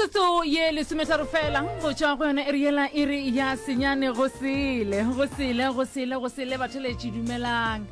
Metsotso ye lesometharo fela go tšwa go yona iri yela iri ya senyane go sele go sele go sele go sele batheletši dumelang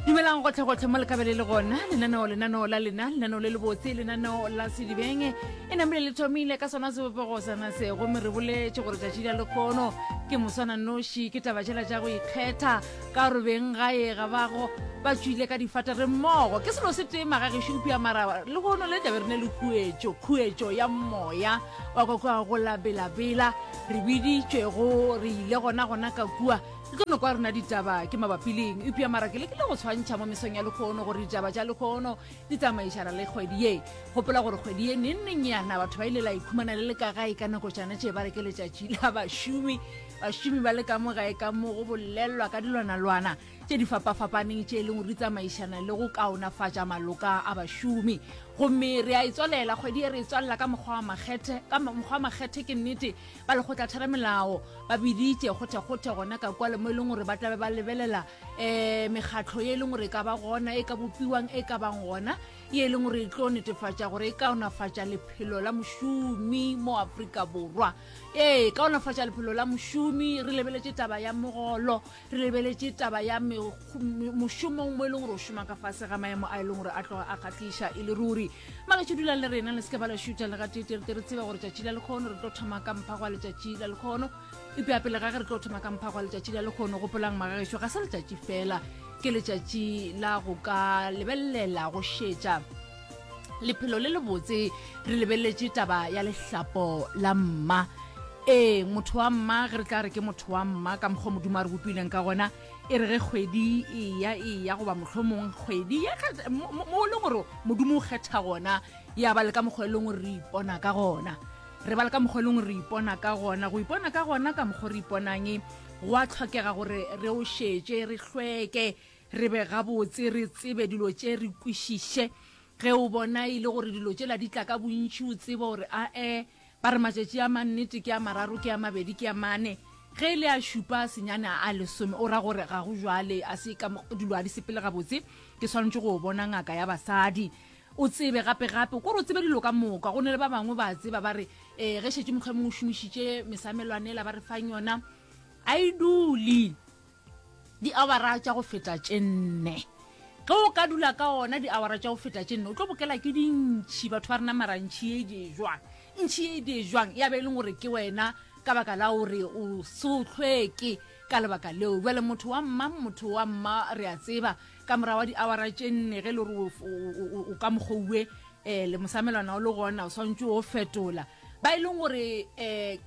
dumelang gotlhegotlhe mo lekabele le gona lenaneo lenaneo la lena lenaneo le lebotse lenaneo la sedibeng e namile le thomile ka sona sebopego sana se gomme re boletše gore tšatši la lekgono ke moswana noši ke taba tšela tša go ikgetha Ka gore beng gae ga ba go ba tšwile ka difata re mmogo. Ke selo se tee magagešo eupša mara lehono le tlabe re ne le khuetšo, khuetšo ya moya wa kwa kua go la Bela-Bela. Re biditšwego, re ile gona gona ka kua. Le tlo no kwa rena ditaba ke mabapi le eng. Eupša mara ke lekile go tshwantšha mo mesong ya lehono gore ditaba tša lehono di tsamaišana le kgwedi ye. Gopola gore kgwedi ye neng neng yana batho ba ile la ikhumana le le ka gae ka nako tšana tše ba re ke letšatši la bašomi. Bašomi ba le ka mo gae ka mo go bolelwa ka dilwanalwana tše di fapafapaneng tše e leng gore di tsamaišana le go kaonafatša maloka a bašomi. Gomme re a e tswalela kgwedi ye, re e tswalela ka mokgwa wa makgethe. Ka mokgwa wa makgethe ke nnete, ba lekgotlatheramelao ba biditše kgothekgothe gona ka kwale mo e leng gore ba tlabe ba lebelela um mekgatlo ye e leng gore e ka ba gona, e ka bopiwang, e ka bang gona, ye e leng gore e tlo netefatša gore e kaonafatša lephelo la mošomi mo Afrika Borwa. Ee, kaonafatša lephelo la mošomi, re lebeletše taba ya mogolo, re lebeletše taba ya mošomong mo e leng gore o šoma ka fase ga maemo a e leng gore a tloga a kgahliša e le ruri. Magetšo dulang le rena, le se ke ba la šutha le gateetee, re tle re tsebe gore tšatši la lekgono re tlo thoma ka mphago wa letšatši la lekgono. Eupša pele ga ge re tlo thoma ka mphago wa letšatši la lekgono, gopolang magagešo, ga se letšatši fela, ke letšatši la go ka lebelela, go šetša lephelo le lebotse re lebeletše taba ya lehlapo la mma ee motho wa mma ge re tla re ke motho wa mma ka mokgwa modimo a re bopileng ka gona e re ge kgwedi eya eya goba mohlomong kgwedi mo e leng gore modimo o kgetha gona ya ba le ka mokgwa e leng gore re ipona ka gona re ba le ka mokgwa e leng gore re ipona ka gona go ipona ka gona ka mokgwa re iponang go a tlhokega gore re o šetše re hlweke Re be gabotse, re tsebe dilo tše, re kwešiše. Ge o bona e le gore dilo tšela di tla ka bontši, o tsebe gore ae, ba re matšatši a mannete ke a mararo, ke a mabedi, ke a mane. Ge e le a šupa, a senyane, a lesome, o ra gore ga go jwale, a se ka dilo ga di sepele gabotse, ke swanetše go bona ngaka ya basadi. O tsebe gape gape, kore o tsebe dilo ka moka. Go ne le ba bangwe ba tseba ba re, um ge šetše mohlomongwe o šomišitše mesamelwane ela ba re fang yona, a e dule. Diawara tša go feta tše nne. Ge o ka dula ka ona diawara tša go feta tše nne, o tlo bokela ke dintšhi. Batho ba rena mara ntšhi ye e di jwang? Ntšhi ye e di jwang? Ya be e leng gore ke wena ka baka la gore o se o hlweke ka lebaka leo. Bjale motho wa mma, motho wa mma re a tseba ka morago wa diawara tše nne ge e le gore o ka mokgouwe um le mosamelwana o le gona o swantse o fetola. Ba e leng gore um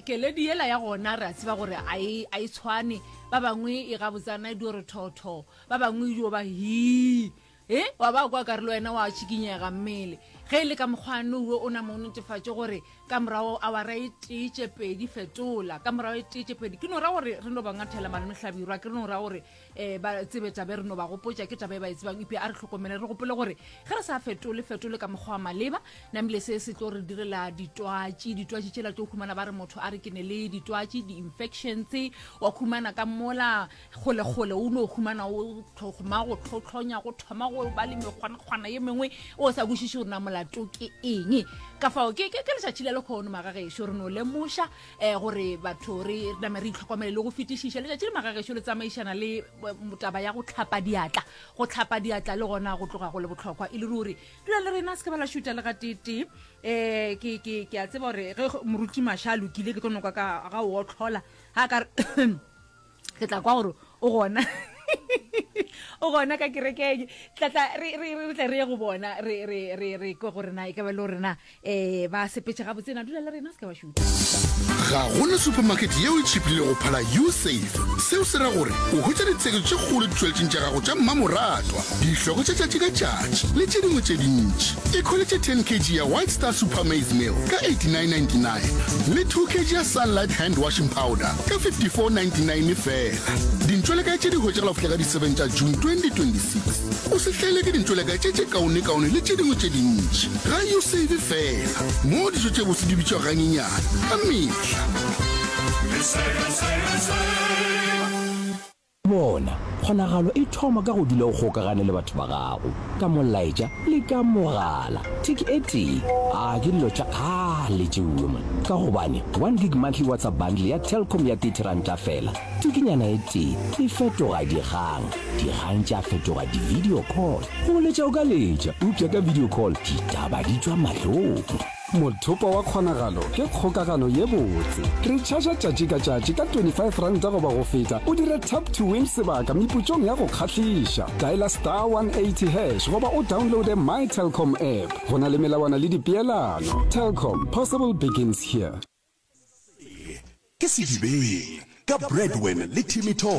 keledi yela ya gona re a tseba gore a e, a e tshwane. Ba bangwe e gabotsana e dio re thotho, ba bangwe e dio ba hii. E, wa ba kwa kare le wena wa tšikinyega mmele. Ge e le ka mokgwa nowe o nama o netefatše gore ka morago awara e tee tše pedi fetola, ka morago e tee tše pedi. Ke no ra gore re no ba ngathela malome Hlabirwa, ke re no ra gore um ba tsebe tabe re no ba gopotša ke taba e ba e tsebang eupša a re hlokomele re gopole gore ge re sa fetole fetole ka mokgwa wa maleba namile se se tlo re direla ditwatši ditwatši tšela tlo khumana ba re motho a re ke ne le ditwatši di-infections wa khumana ka mola kgolekgole o no khumana o thoma go tlhotlhonya go thoma go ba le mekgwanakgwana ye mengwe o sa kwešiše gore na molato ke eng ka fao ke letšatši la lekgono magagešo re no lemoša um gore batho re name re itlhokomele le go fetišiša letšatši le magagešo le tsamaišana le eh, taba ya go tlhapa diatla go tlhapa diatla le gona go tloga go le bohlokwa e le ruri dula le rena se ke ba la šuta le gateetee um ke ke ke a tseba gore ge moruti maša a lokile ke tlo noka ka ga o otlhola ga ka re ke tla kwa gore o gona o gona ka kerekeng tlatla re re re tle re ye go bona re re re re kwe gore na e ka ba le gore na um ba sepetse gabotse na dula le rena se ka ba šuta Ga go na supermarket yeo e tšhiphilego go phala U-Save. Seo se ra gore o hwetša ditsheketšo tše kgolo ditšweletšing tša gago tša mmamoratwa, dihloko tša tšatši ka tšatši le tše dingwe tše dintši. Ikhweletše 10 kg ya White Star Super Maize Meal ka 89.99 le 2 kg ya Sunlight Hand Washing Powder ka 54.99 feela. Dintšwelekae tše di hwetšagala go fihla ka di 7 tša June 2026. O se hlaelwe ke dintšwelekae tše tše kaonekaone le tše dingwe tše dintši ga Usave feela, moo dijo tše bose di bitšwago ganyenyane ka mehla. Bona, kgonagalo e thoma ka go dula o kgokagane le batho ba gago, ka molaetša le ka mogala. Thiki e tee, a ke dilo tša kgale. A le tšeuwe man, ka gobane one gig monthly WhatsApp bundle ya Telkom ya 30 ranta fela, tikinyana e tee e fetoga dikgang, dikgang tša fetoga di-video call. Go letša o ka letša, eupša ka video call ditaba di tšwa mahlong. Mothopo wa kgonagalo ke kgokagano ye botse. Retšhaša tšatši ka tšatši ka 25 ranta goba go feta o dire Tap to Win sebaka meputsong ya go kgahliša. Diala star 180 hash goba o downloade My Telkom app. Go na le melawana le dipeelano. Telkom, possible begins here. Se ke Sedibeng ka Bradwin le Timmy Thomas.